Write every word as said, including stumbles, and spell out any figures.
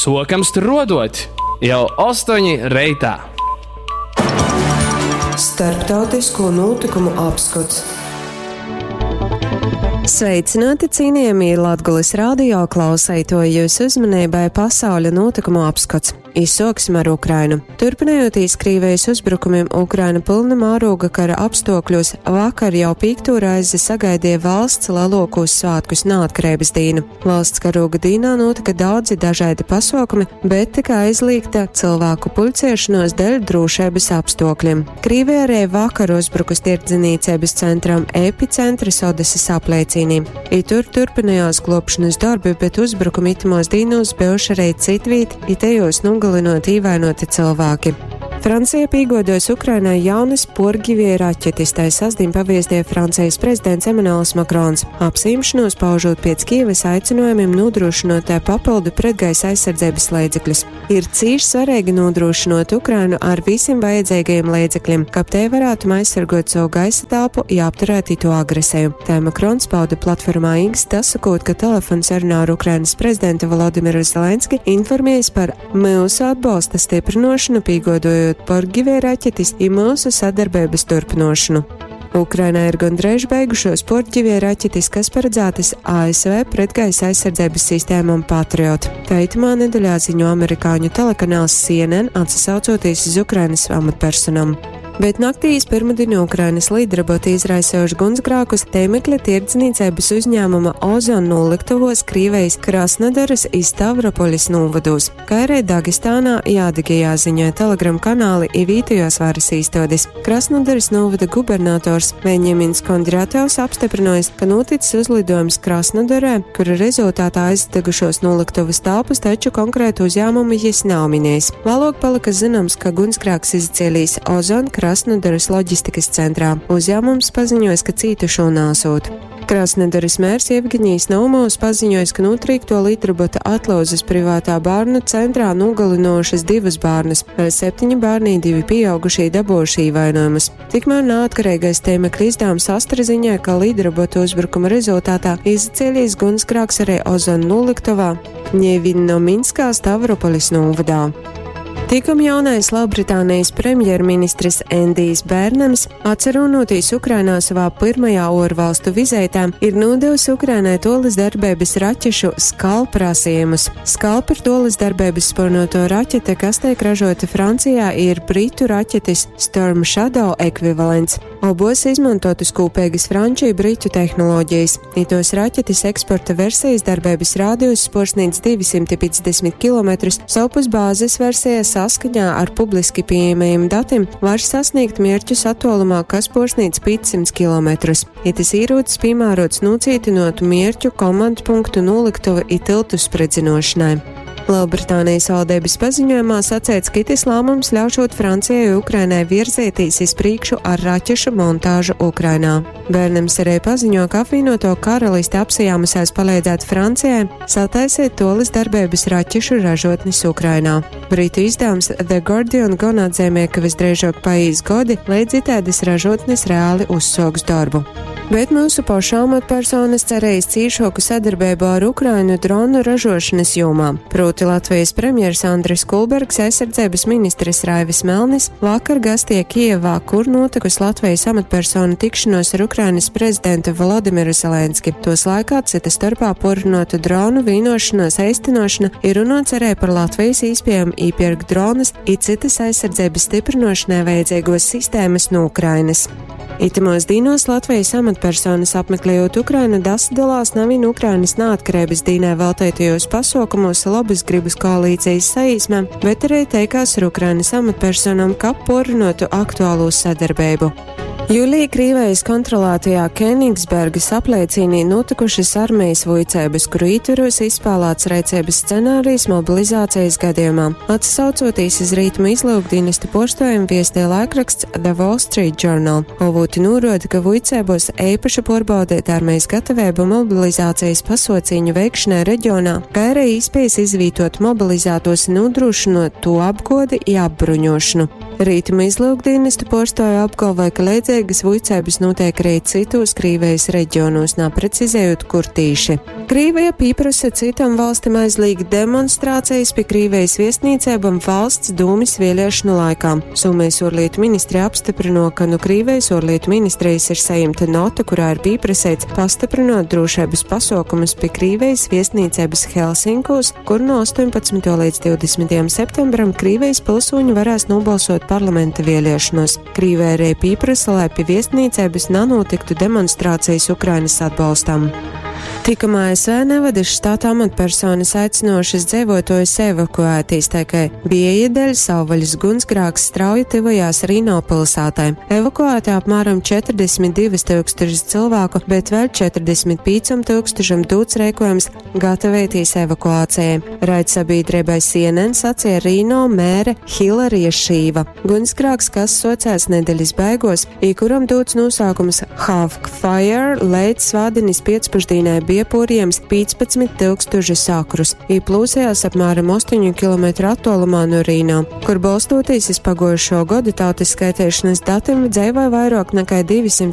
Sokam struodot jau ostoņi reitā. Starptautisko notikumu apskots. Sveicināti, cienījamie Latgulis radio klausētoji, jūsu uzmanībai pasauļa notikumu apskats. Izsoksim ar Ukrainu. Turpinājoties Krīvijas uzbrukumiem, Ukraina pilna mārūga kara apstākļos vakar jau piekto reizi sagaidīja valsts lielākos svētkus neatkarības dīnu. Valsts karūga dīnā notika daudzi dažādi pasaukumi, bet tika aizliegta cilvēku pulcēšanos dēļ drošības apstākļiem. Krīvija arī vakar uzbrukus tirdzniecības centram Epicentrs Odesas apliecīnī. I tur turpinājās globšanas darbi, bet uzbrukumi itimos dīnos bijuši arī citvīt, itejos nu nogalinot īvainoti cilvēki. Francija pīgodos Ukrainai jaunas porgivie raķetes, tai sasdien paviestie Francijas prezidents Emanuels Makrons. Apsīmšanos paužot pēc Kievas aicinājumiem nodrošinot tā papildu pretgaisa aizsardzības līdzekļus. Ir cīši svarīgi nodrošinot Ukrainu ar visiem vajadzīgajiem līdzekļiem, kab te varētu aizsargot savu gaisa telpu, ja apturētu to agresiju. Tā Makrons pauda platformā X, dasakot, ka telefons sarunā ar Ukrainas prezidentu Volodimiru Zelenski informējis par mūsu atbalsta stiprinošanu, pīgodojot par givē raķetes i mūsu sadarbības turpinošanu. Ukrainā ir gandrīz beigušos porģivie raķetes, kas paredzētas A S V pretgaisa aizsardzības sistēmām Patriot. Tā itamā nedēļā ziņo amerikāņu telekanāls C N N, atsaucoties uz Ukrainas amatpersonām. Bet naktī iz pirmdienu Ukrainas lidroboti izraisījuši gunsgrākus tēmekļa tirdzniecības uzņēmuma Ozon noliktavos Krīvejas Krasnodaras i Stavropolis novados, kā arī Dagestānā Jādigijā ziņoja Telegram kanāli i vītejos varas īstodes. Krasnodaras novada gubernators Veņemins Kondratjovs apstiprinājis, ka noticis uzlidojums Krasnodarē, kura rezultātā aizdegušos noliktavas telpas, taču konkrētu uzņēmumu jis nav minējis. Vēlāk palika zināms, ka gunsgrāks izcēlīs Ozon Krasnodaras loģistikas centrā. Uzņēmums paziņojas, ka cītušo nāsot. Krasnodaras mērs Jevgeņijs Naumovs paziņojas, ka notrīkto lidrobota atlauzes privātā bērnu centrā nogalinošas divas bērnas, vēl septiņi bērni, divi pieaugušie dabūjuši ievainojumus. Tikmēr neatkarīgais tēmekļa izdevums Astra ziņoja, ka lidrobota uzbrukuma rezultātā izcēlies gunsgrāks arī Ozon noliktavā Ņevinnominskā Stavropolis novadā. Tikum jaunais Lielbritānijas premjerministrs Endijs Bērnams, atcerunotīs Ukrainā savā pirmajā orvalstu vizītē, ir nodevis Ukrainai tolis darbības raķešu Skalp prasījumus. Skalp ir tolis darbības spurnoto raķete, kas tiek ražota Francijā, ir britu raķetes Storm Shadow ekvivalents. Obos izmantotas kopīgas franču i britu tehnoloģijas. Itos raķetes eksporta versijas darbības rādījus sporsnīdz divi simti piecdesmit kilometrus, savpus bāzes versija saskaņā ar publiski pieejamajiem datiem var sasniegt mērķus attālumā, kas porsnīdz piecsimt kilometrus. Ja tas ierūcis piemērots nocītinot mērķu komandu punktu noliktuvu i tiltu spridzinošanai. Lielbritānijas valdības paziņojumā sacēts, ka itis lēmums ļaušot Francijai un Ukrainai virzētīs iz priekšu ar raķešu montāžu Ukrainā. Bērnams arī paziņo, ka apvienoto karalisti apsijāmusies palīdzēt Francijai sataisīt tolis darbības raķešu ražotnes Ukrainā. Britu izdevums The Guardian gan atzīmē, ka visdrīzāk paies gadi, līdz itēdes ražotnes reāli uzsoks darbu. Bet mūsu pašu amatpersonas cerējas cīšoku sadarbību ar Ukrainu dronu ražošanas jomā. Proti Latvijas premjeras Andris Kulbergs, aizsardzības ministres Raivis Melnis vakar gastie Kijevā, kur notikusi Latvijas amatpersonu tikšanos ar Ukrainas prezidentu Volodimiru Zelenski. Tos laikā cita starpā porunota dronu vīnošanās eistenošana ir runots arī par Latvijas īspējām īpirkt dronus i citas aizsardzības stiprinošanai vajadzīgos sistēmas no Ukrainas. Itimos dīnos Latvijas amatpersonas apmeklējot Ukrainu dasadalās navin Ukrainas neatkarības dīnē veltētajos pasaukumos labas gribas koalīcijas saīsmē, bet arī teikās ar Ukrainas amatpersonām, ka porinotu aktuālo sadarbību. Jūlijā Krīvejas kontrolētajā Kenigsbergas apliecīnī notikušas armijas vuicēbas, kuru ietveros izspēlēts rēcības scenārijs mobilizācijas gadījumā. Atsaucoties iz rītumu izlūkdienesta postojumu viestie laikraksts The Wall Street Journal. Avoti norāda, ka vuicēbos īpaši porbaudīt armijas gatavību mobilizācijas pasaucīņu veikšanai reģionā, kā arī īspējas izvītot mobilizētos nodrošinot to apgodi i apbruņošanu. Rītumu izlyukdīnestu puorstuovi apgalvoj, ka leidzeigys vuiceibys nūteik ari cytūs Krīvejis reģionūs, naprecizejūt, kur tīši. Krīveja pīprosa cytom valstim aizlīgt demonstrācejis pi Krīvejis viestnīceibom Valsts dūmis vieliešonu laikā. Sūmejis uorlītu ministri apstyprynuo, ka nu Krīvejis uorlītu ministrejis ir sajimta nota, kurā ir pīpraseits pastyprynuot drūšeibys pasuokumus pi Krīvejis viestnīceibys Helsinkūs, kur nu astoņpadsmytuo leidz divdesmitajam septembram Krīvejis pilsūņi varēs nūbolsuot parlamenta vieliešonuos. Krīveja arī pīprasa, lai pi viestnīceibys nanūtyktu demonstrācejis Ukrainys atbolstam. Tikamā A S V Nevadys štata amatpersonys aicynuošys dzeivuotuojus evakuētīs, tai kai vieja dēļ savvaļas gunsgrāks strauji tyvojās Rino pilsētai. Evakuēti apmēram četrdesmit divys tūkstošus cilvēku, bet vēl četrdesmit pīcom tūkstošam dūts reikojums gatavēties evakuācijai. Raidsabiedrībai C N N sacīja Rino mēre Hilarija Šīva. Gunsgrāks, kas socēs nedeļas beigos, i kuram dūts nosaukums Havk Fire, leidz svātdienis piecpušdīnai bija pūrījams pīcpadsmit tūkstoši akrus, i plūsējās apmēram astoņu kilometru attuolumā no Rīno, kur bolstoties iz paguojušo godu tautas skaitēšanas datiem dzeivoja vairāk nekā divsimt